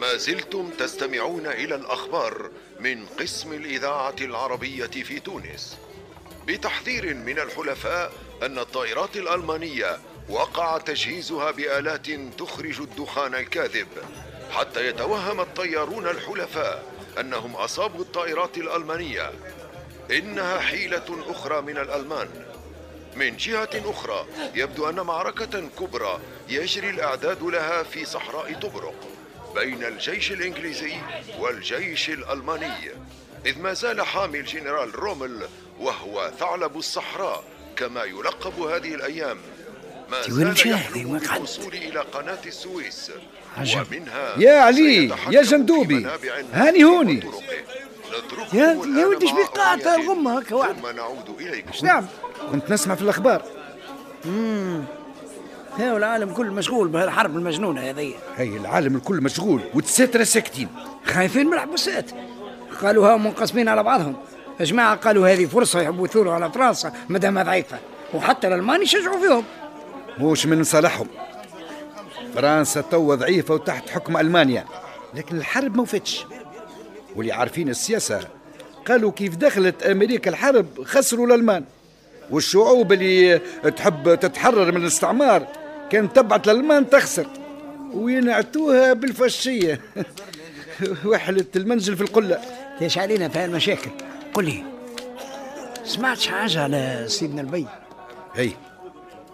ما زلتم تستمعون إلى الأخبار من قسم الإذاعة العربية في تونس. بتحذير من الحلفاء أن الطائرات الألمانية وقع تجهيزها بآلات تخرج الدخان الكاذب حتى يتوهم الطيارون الحلفاء أنهم أصابوا الطائرات الألمانية. إنها حيلة أخرى من الألمان. من جهة أخرى يبدو أن معركة كبرى يجري الإعداد لها في صحراء طبرق بين الجيش الإنجليزي والجيش الألماني، إذ ما زال حامي الجنرال رومل وهو ثعلب الصحراء كما يلقب هذه الأيام ما زال يحلم بالوصول إلى قناة السويس ومنها يا علي يا جندوبي هاني هوني. يا ولدي شبيك قاعد الغمة هكا واحد. ثم نعود إليكم. نعم كنت نسمع في الأخبار. هاو العالم كل مشغول بهالحرب المجنونة هذه. هي العالم الكل مشغول والدساترة ساكتين، خايفين من الحبوسات. قالوا هاو منقسمين على بعضهم. جماعة قالوا هذه فرصة يحبوا يثوروا على فرنسا مادامها ضعيفة، وحتى الألمان يشجعوا فيهم. مش من صالحهم، فرنسا توا ضعيفة وتحت حكم ألمانيا، لكن الحرب ما وفتش. واللي عارفين السياسة قالوا كيف دخلت أمريكا الحرب خسروا الألمان، والشعوب اللي تحب تتحرر من الاستعمار كان تبعت الألمان تخسر وينعتوها بالفاشية. وحلة المنزل في القلة. ليش علينا في هالمشاكل؟ قل لي، سمعتش حاجة على سيدنا البي؟ هي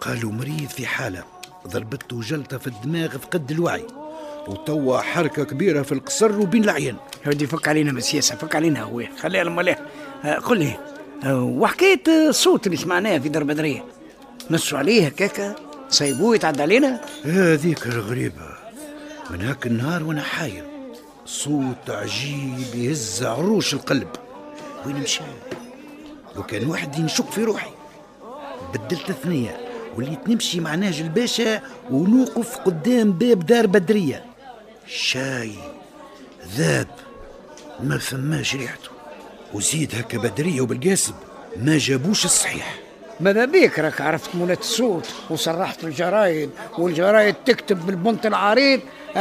قالوا مريض في حالة، ضربته جلطة في الدماغ فقد الوعي، وتوا حركة كبيرة في القصر وبين العين. هودي فك علينا من السياسة، فك علينا هو، خليها لما. قل لي، وحكاية الصوت اللي سمعناه في درب بدرية، نصوا عليه هكاكا سايبوه يتعدى علينا؟ هذيك الغريبة، من هاك النهار وانا حاير، صوت عجيب يهز عروش القلب. وين مشى؟ لو كان واحد ينشك في روحي. بدلت ثنية وليت نمشي مع نهج الباشا ونوقف قدام باب دار بدرية. شاي ذاب ما فماش ريحته، وزيد هكا بدرية وبالقاسم ما جابوش الصحيح. ماذا بيك راك عرفت مولات الصوت وصرحت الجرايد، والجرايد تكتب بالبنط العريض